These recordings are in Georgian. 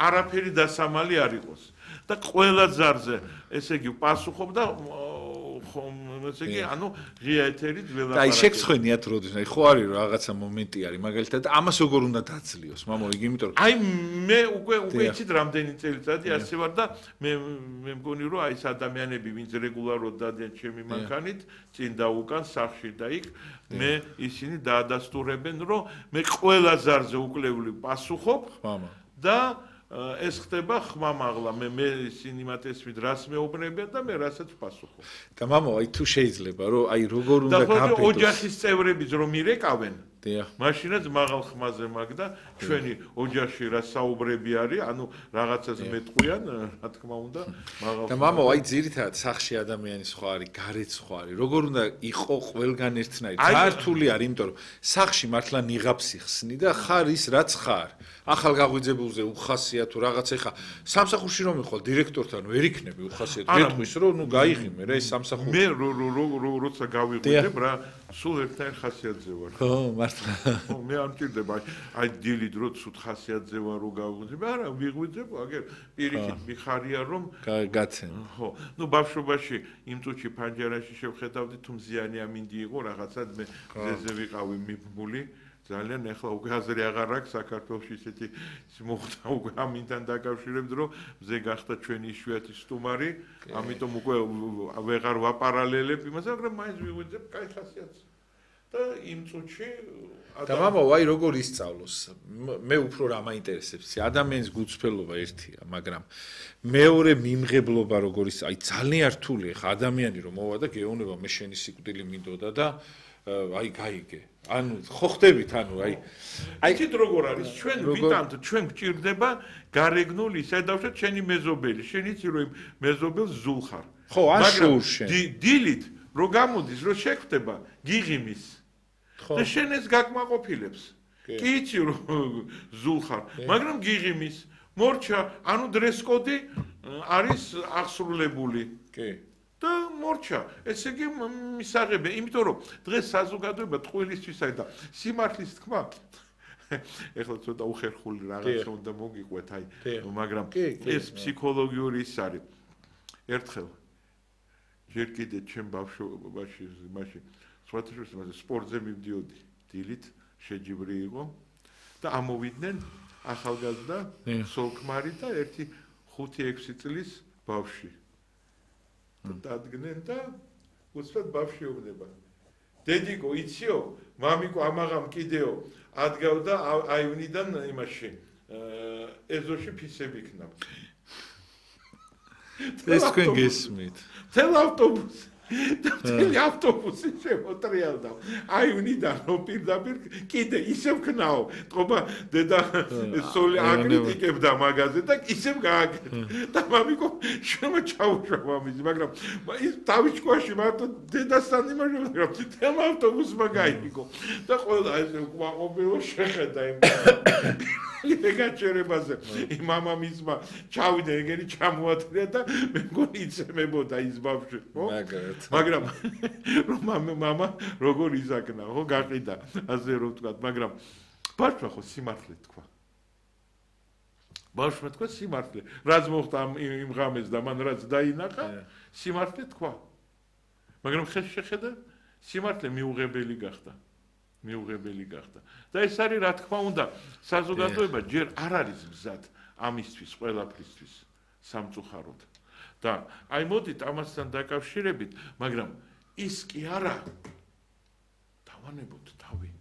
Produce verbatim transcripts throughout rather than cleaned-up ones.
არაფერი დასამალი არ იყოს და ყველა ზარზე ესე იგი პასუხობდა ესე იგი ანუ ღია ეთერით ველაპარაკე. და აი შეგცხვენიათ როდის აი ხო არის რაღაცა მომენტი არის მაგალითად ამას როგორ უნდა დაძლიოს მამო იგი იმიტომ რომ აი მე უკვე უკვე იცით რამდენი წელიწადი ასე ვარ და მე მე მგონი რომ აი ეს ადამიანები ვინც რეგულარულად დადიან ჩემი მანქანით წინ და უკან სახში და იქ მე ისინი დაადასტურებენ რომ მე ყველა ზარზე უკლევლი პასუხობ და ეს ხდება ხმამაღლა მე მე ისინი მათ ესმით რას მეუბნებიან და მე რასაც ვპასუხობ. და მამო აი თუ შეიძლება რომ აი როგორ უნდა გაბედოს და ოჯახის წევრებიც რომ ირეკავენ დიახ მაშინაც მაღალ ხმაზე მაგ და ჩვენი ოჯახში რა საუბრები არის ანუ რაღაცას მეტყვიან რა თქმა უნდა მაღალ და მამო აი ძირითადად სახში ადამიანის ხო არის გარეთ ხო არის როგორ უნდა იყო ყველგან ერთნაირი ძართული არის იმიტომ რომ სახში მართლა ნიღაბს იხსნი და ხარ ის რაც ხარ ახალ გაღვიძებულზე უხასია თუ რაღაცა ხა სამსახურში რომ მიხვალ დირექტორთან ვერ იქნები უხასიათ გეტყვის რომ ნუ გაიღიმე რა ეს სამსახური მე როცა გავიღვიძებ რა სულ ერთნაირ ხასიათზე ვარ ხო მართლა ხო მე არ მჭირდება აი დილით რო ცუდ ხასიათზე ვარ რო გავიღვიძებ არა ვიღვიძებ აგერ პირიქით მიხარია რომ გაცენ ხო ნუ ბავშვობაში იმ წუთში ფანჯარაში შევხედავდი თუ მზიანი ამინდი იყო რაღაცა მე ზეზე ვიყავი მიბმული ძალიან ეხლა უკვე აზრი აღარ აქვს საქართველოში ისეთი მოხდა უკვე ამინთან დაკავშირებით რომ მზე გახდა ჩვენი იშვიათი სტუმარი ამიტომ უკვე ვეღარ ვაპარალელებ იმას მაგრამ მაინც ვიღვიძებ კაი ხასიათს და იმ წუთში და მამო აი როგორ ისწავლოს მე უფრო რა მაინტერესებს ადამიანის გულწრფელობა ერთია მაგრამ მეორე მიმღებლობა როგორ ის აი ძალიან რთული ხა ადამიანი რომ მოვა და გეუბნება მე შენი სიკვდილი მინდოდა და აი გაიგე ანუ ხო ხდებით ანუ აი აი თით როგორ არის ჩვენ ვიტანთ ჩვენ გვჭირდება გარეგნული ისე დავშოთ შენი მეზობელი შენ იცი რომ მეზობელს ზულ ხარ ხო ან შურ შენ დილით რო გამოდის რო შეგხვდება გიღიმის და შენ ეს გაკმაყოფილებს კი იცი რომ ზულ ხარ მაგრამ გიღიმის მორჩა ანუ დრესკოდი არის აღსრულებული კი და მორჩა ესე იგი მისაღებია იმიტომ რომ დღეს საზოგადოება ტყუილისთვის არის და სიმართლის თქმა ეხლა ცოტა უხერხული რაღაცა უნდა მოგიყვეთ აი მაგრამ ეს ფსიქოლოგიური ის არის ერთხელ ჯერ კიდე ჩემ ბავშვობაში მაშინ სხვათაშორის სპორტზე მივდიოდი დილით შეჯიბრი იყო და ამოვიდნენ ახალგაზრდა სოლქმარი და ერთი ხუთი ექვსი წლის ბავშვი დადგნენ და უცბად ბავშვი ეუბნება დედიკო იციო მამიკო ამაღამ კიდეო ადგავდა აივნიდან იმაში ეზოში ფისები იქნა ეს თქვენ გესმით თელ ავტობუსი და თელი ავტობუსი შემოტრიალდა აივნიდან რომ პირდაპირ კიდე ისევ ქნაო თქობა დედა სოლი აკრიტიკებდა მაგაზე და ისევ გააკეთა და მამიკო შემო ჩაუშვა მამის მაგრამ ის თავისქვაში მარტო დედასთან იმაშია რომ თელ ავტობუსმა გაიგო და ყველა ეს უკმაყოფილო შეხედა იმ ეგაჩერებაზე იმ მამამისმა ჩავიდა ეგერი ჩამოათრია და მე მგონი იცემებოდა ის ბავშვი ხო მაგრამ რომ მამა როგორ იზაკნა ხო გაყიდა ასე რომ ვთქვა მაგრამ ბავშვმა ხო სიმართლე თქვა ბავშვმა თქვა სიმართლე რაც მოხდა იმ ღამეს და მან რაც დაინახა სიმართლე თქვა მაგრამ ხეს შეხედა სიმართლე მიუღებელი გახდა მიუღებელი გახდა და ეს არის რა თქმა უნდა საზოგადოება ჯერ არ არის მზად ამისთვის ყველაფრისთვის სამწუხაროდ და აი მოდით ამასთან დაკავშირებით მაგრამ ის კი არა დავანებოთ თავი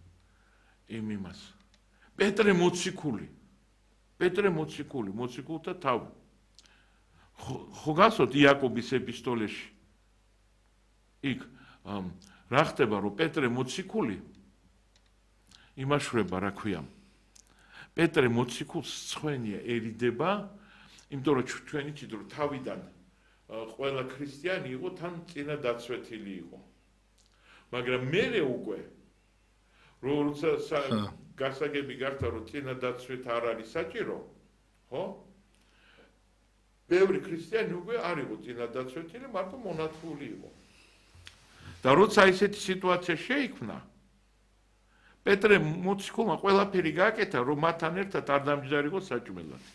იმ იმას პეტრე მოციქული პეტრე მოციქული მოციქულთა თავი ხო გასოთ იაკობის ეპისტოლეში იქ რა ხდება რომ პეტრე მოციქული იმაშვება რა ქვია პეტრე მოციქულს ცხვენია ერიდება იმიტომ რომ ჩვენი ჭიდრო თავიდან ყველა ქრისტიანი იყო თან წინა დაცვეთილი იყო მაგრამ მერე უკვე როცა გასაგები გახდა რომ წინა დაცვით არ არის საჭირო ხო ბევრი ქრისტიანი უკვე არ იყო წინა დაცვეთილი მარტო მონათლული იყო და როცა ისეთი სიტუაცია შეიქმნა პეტრე მოციქულმა ყველაფერი გააკეთა რომ მათთან ერთად არ დამჯდარიყო საჭმელად